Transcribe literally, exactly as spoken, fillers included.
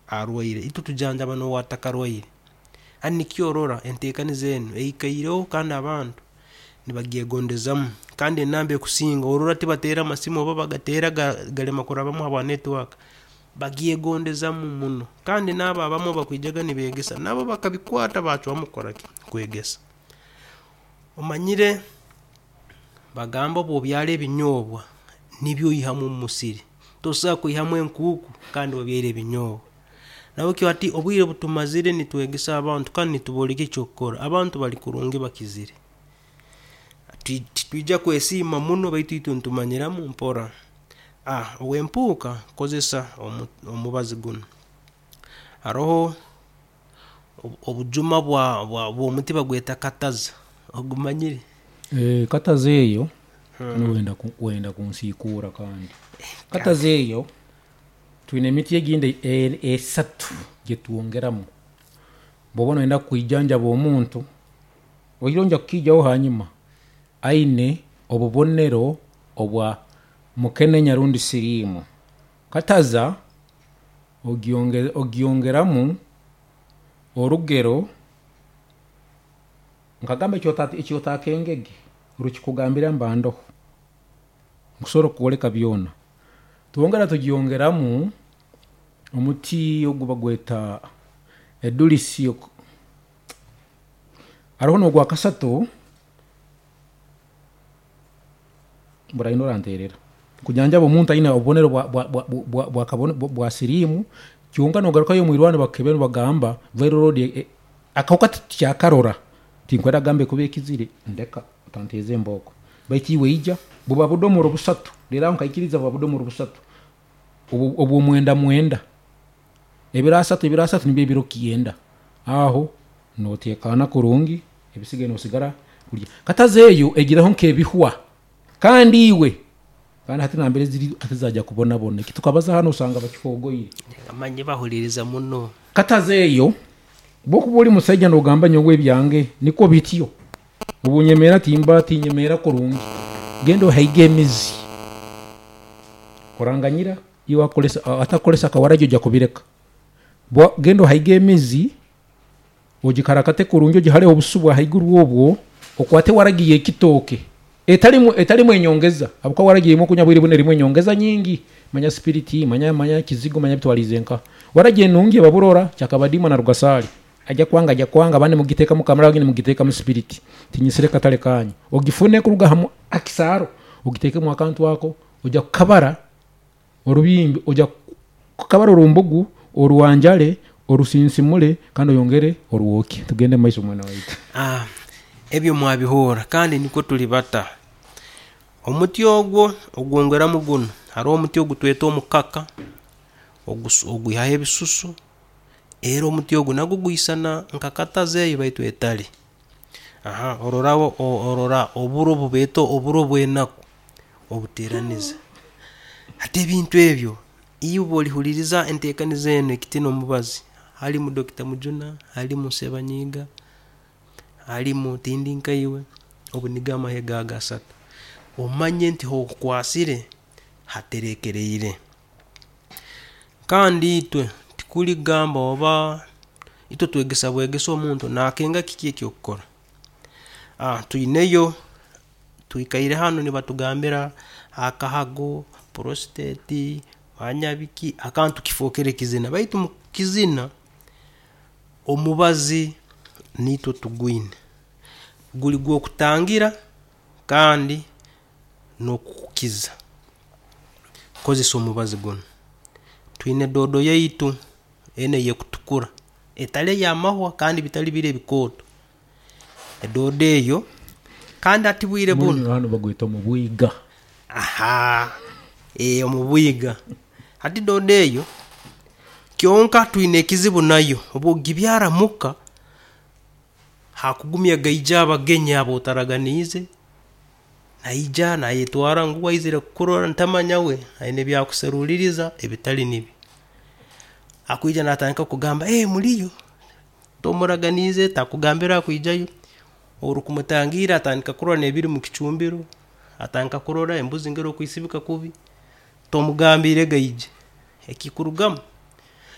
Arwaire, itwe tujanjaba n'owatakarwaire. Hati nikyo orora enteekaniza enu eikaireho kandi abantu nibagyegondezaamu. Kandi enamba ekusinga, orora tibateera amasimu oba bagateera galema kurabamu habwa network, bagyegondezaamu muno. Kandi naabo abamu abakwijaga nibeegesa, nabo bakabikwata bachwamu kukora ki? Kwegesa. Omanyire bagamba obu obyara ebinyobwa, nibyo oihamu omusiri, tosobola kwihamu enkuuku kandi obyaire ebinyobwa. Nahabwekyo hati obwire obutumazire nitwegesa abantu kandi nitubooleka ekyokukora, abantu bali kurungi bakizire. Titwija kwesiima muno baitu itwe nitumanyiramu mpora. Ow'empuuka, kozesa omubazi gunu. Haroho obujuma bw'omuti bagweta kataza, ogumanyire? Kataza eyo, wenda kunsiikuura kandi. Kataza eyo, twine emiti egindi esatu eyitwongeramu. Bwokuba noyenda kwijanjaba omuntu, oihireho nja kukeijaho hanyuma, aine obubonero obwa mukenenya rundi sirimu. Kataza ogyongeramu orugero, nkagamba ekyotakengege, rukikugambira mba ndoho, nkusobora kukwoleka byona. Twongera tugyongeramu omuti ogwo bagwetta edurisi, haroho no'gwakasatu, oranterera. Kujanjaba omuntu ayina obubonero bwa sirimu kyonka nogarukayo omwirwaro nebakukebera nebagamba viral load akahuka tetukyakarora, tinkwenda kugambe ekuba ekizire, ndeka otanteza embooko baitu eiwe eija, buba budomora busatu, lero aho nkaikiriza buba budomora busatu obwo mwenda mwenda, ebiro asaatu ebiro asaatu nibyo ebiro kyenda, aho no'tekana kurungi, ebisigaire no'sigara. Kataza eyo egiraho nke ebihwa kandi eiwe, kandi hati namberi ziri zaija kubonabona, ekitukabaza hanu osanga bakihogoire. Manya bahuliriza muno. Kataza eyo, bwokuba oli musaija no'gamba nyonwe ebyange nikwo bityo, obunyemeera timba tinyemeera kurungi, genda ohaige emiizi, oranganyira, eiwe atakukolesa akawaragi ogya kubireka. Genda ohaige emiizi, ogikarakate kurungi ogihareho obusu obwaiguru obwo, okwate waragi eyekitooke etalimu etalimu enyongeza habwokuba waragi gyemukunywa obwire bunu erimu enyongeza nyingi, manya spirit, manya kizigo, manya bitwalize nka. Waragi enungi eba burora, kyakabadiima na rugasaali. Agya kwanga, agya kwanga, abandi mugitekamu kamulali abandi mugitekamu spirit, tinyesere katale kanyu. Ogifune kuruga hakisaaro, ogitekemu akantu ako, ogya kukabara orubimbi, ogya kukabara orumbugu, oruwanjale, orusinsimule kandi oyongere orwokye. Tugende omumaiso mwana waitu. Ebyo mwabihuura kandi nikwo tuli batta. Omuti ogwo, ogwongeramu guno, haroho omuti gwetweta omukaka, ogwihaho ebisusu era omuti ogwo nagwo gwisana nka kataza eyo baitu etali. Orora oburo bwebeeta oburo bwenaaku, obuteraniiza. Hati ebintu ebyo, eiwe bwo' olihuliiriza entekaniza enu ekitiinwa omubazi, halimu Doctor Mujuna, halimu Ssebanyiiga, halimu Tindikaiwe, ago nigo amahega ago asaatu. Omanye nti hokukwasire haterekereire. Kandi etwe, tekuli gamba orba etwe twegesa bwegesa omuntu nakenga kiki ekyokukora. Tuyineyo, twikaire hanu nebatugambira akahago, prostate, manya biki, akantu kifokere kizina baitu mukizina, omubazi neitwe tugwine. Guli gwo kutangira kandi no'kukiiza. Kozesa omubazi gunu. Tuyina doodo yaitu enu ekutukura etali yamahwa kandi bitali biri ebikooto. Doodo eyo, kandi hati obwire bunu. Hanu bagwetta omubwiga. Omubwiga. Hati doodo eyo, kyonka tuyina ekizibu naayo, bwogibyara muka, hakugumya gaija abagenyi abo otaraganiize, naija nayetwara ngu aizire kukurora tamanya we ayina byakuseruliriza ebitali nibyo. Akwija natandika kugamba, muliyo, tomuraganiize, takugambire akwijayo, orikumutangira atandika kurora nebiri omukichumbiro, atandika kurora embuzi engeri okusibika kubi, tomugambire aije, ekikurugamu.